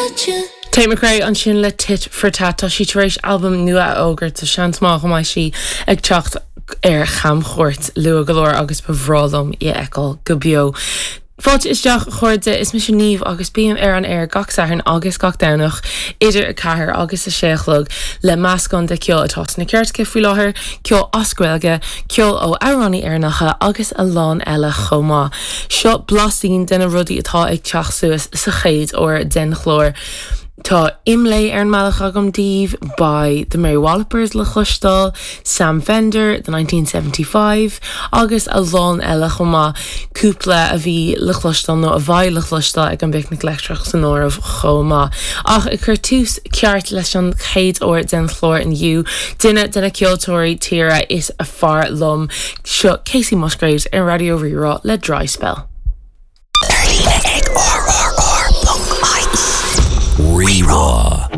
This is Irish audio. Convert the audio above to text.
Tate McRae ansin le Tit for Tat. Tá sí tar éis albam nua a fhógairt so seans maith go mbeidh sí ag teacht ar chamchuairt luath go leor agus ba bhreá liom í a fheiceáil go beo. Fáilte isteach a chairde, is mise Niamh agus bím ar an aer gach Satharn agus gach Domhnach idir 4 agus 6 a chlog le meascán de cheol atá sna cairteacha faoi láthair, ceol as Gaeilge, ceol ó amhránaí Éireannacha agus a lán eile chomh maith. Seo blaisín de na rudaí atá ag teacht suas sa chéad uair den chlár. Tá Imlé ar an mbealach agam daoibh, beidh The Mary Wallopers le cloisteáil, Sam Fender, The 1975 agus a lán eile chomh maith, cúpla a bhí le cloisteáil nó a bheidh le cloisteáil ag an bPicnic Leictreach san áireamh chomh maith. Ach ag cur tús ceart leis an chéad uair den chlár inniu, duine de na ceoltóirí tíre is fearr liom, seo Kacey Musgraves ar Raidió Rí-Rá le Dry Spell. Ar líne ag rrr.ie. Rí-Rá.